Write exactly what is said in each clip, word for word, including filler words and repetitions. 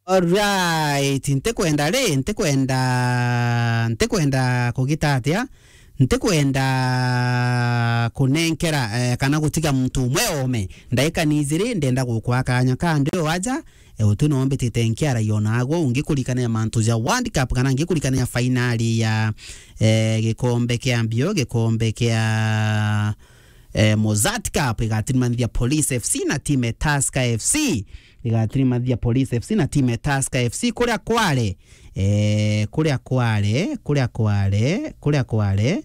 Alright, ntikwenda ri, ntikwenda, ntikwenda kugita atia, ntikwenda kunenkera, eh, kana gutiga muntu umwe ome. Ndaika ni ijiri, ndenda gukwa kanya kandi o aja, eh, utu no mbitite nkiaragia o nagwo, ngikurikania mantu ja World Cup kana ngikurikania fainali ya, eh, gikombe kia mbio, gikombe kia, eh, Mozart Cup, igatirimanithia Police F C na timu ya Tusker F C. Igatirimanithia Police F C na timu ya Tusker F C. Kuria kware, eh, kuria kware, kuria kware, kuria kware,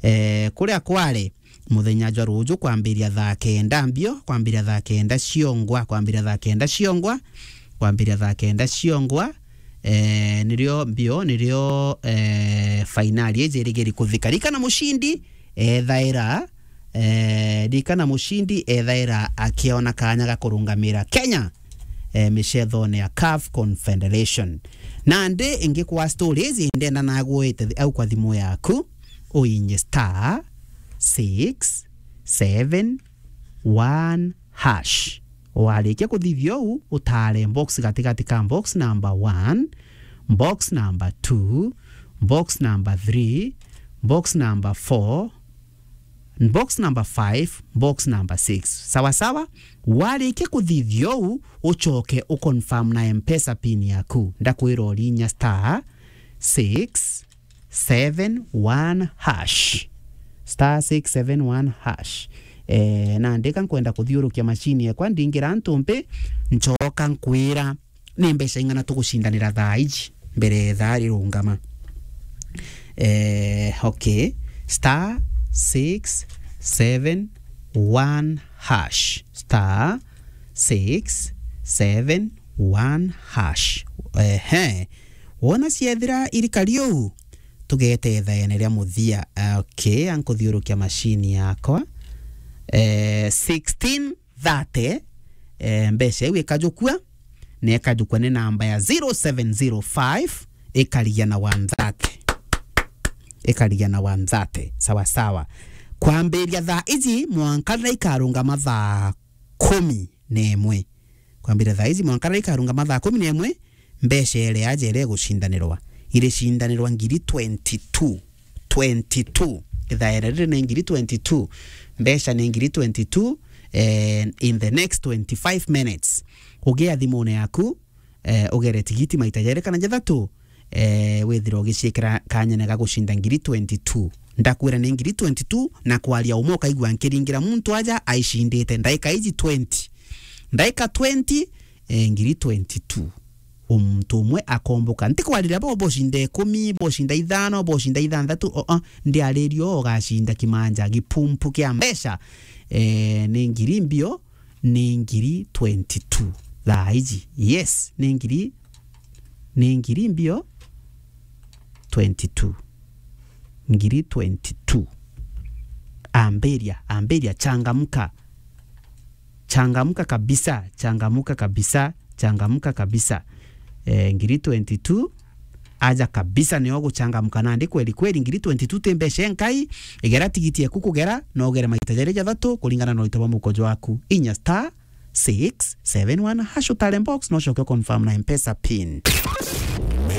eh, kuria kware, muthenya jwa ruju kwambiria thaa kenda mbio, kwambiria thaa kenda ciongwa, kwambiria thaa kenda ciongwa, kwambiria thaa kenda ciongwa, eh, nirio mbio, nirio, eh, fainali iji irigiri kuthika. Rikana mucindi, ethaira, eh, rikana mucindi ethaira akiona kanya ga kurungamira Kenya, eh, micethone ya CAF Confederation. Nandi ingikwa stories, ndenda nagwite au kwa thimu yaku, uinye star six seven one hash. Warikia kuthithia uu, utare box gatigati ka box number one, box number two, box number three, box number four, box number five, box number six. Sawa sawa? Warikia kuthithia uu, ucoke uconfirm na M-Pesa pin yaku. Ndakwira urinya star six seven one hash. Star six seven one hash. Eh, nandi ka nkwenda kuthiurukia machine yakwa, ndingira ntumpi, ncoka nkwira ni mbeca ing'ana tugucindanira thaa iji mbere ya ithaa rirungama. Eh, okay. Star six seven one hash. Star six seven one hash. Ehe. Wona ciethira irikari uu, tugete ithaene ria muthia. Ah, okay, ankuthiurukia machine yakwa. Eh, sixteen thirty, eh, mbeca iu ikajukua, na ikajukua ni namba ya zero seven zero five, ikarigia na one thirty. Ikarigia na one thirty. Sawa sawa. Kwambiria thaa iji mwanka riria ikarungama thaa kumi na imwe. Kwambiria thaa iji mwanka riria ikarungama thaa kumi na imwe, mbeca iria aja iria igucindanirwa, iricindanirwa ngiri twenty-two. Twenty-two. Ithaere riri ni ngiri twenty-two. Mbeca ni ngiri twenty-two, eh, in the next twenty-five minutes. Ugia thimune yaku, eh, ugere tigiti maita jeri kana jathatu, eh, withire ugiciikira kanyene ga gucinda ngiri twenty-two. Ndakwira ni ngiri twenty-two, na kwaria umwe ukaigua nkiringira muntu aja aicindite ndaika iji twenty. Ndaika twenty, eh, ngiri twenty-two. Muntu umwe akomboka. Ntikwarira bo bocinda ikumi, bocinda ithano, bocinda ithanthatu, o, o, ndiaririo ugacinda kimanja, gipumpu kia mbeca. Eh, ni ngiri mbio, ni ngiri twenty-two. Thaa iji. Yes, ni ngiri, ni ngiri mbio twenty-two. Ngiri twenty-two. Ambiria, ambiria, changamka. Changamka kabisa, changamka kabisa, changamka kabisa. Eh, ngiri twenty-two, aja kabisa, nio guchangamka nandi kweli kweli. Ngiri twenty-two ti mbeca inkai, igera tigiti eku kugera, no ugere maita jeri jathatu, kuringana na urito bwa mukojo waku. Inya star six seven one hash utare box, no coke confirm na M-Pesa pin.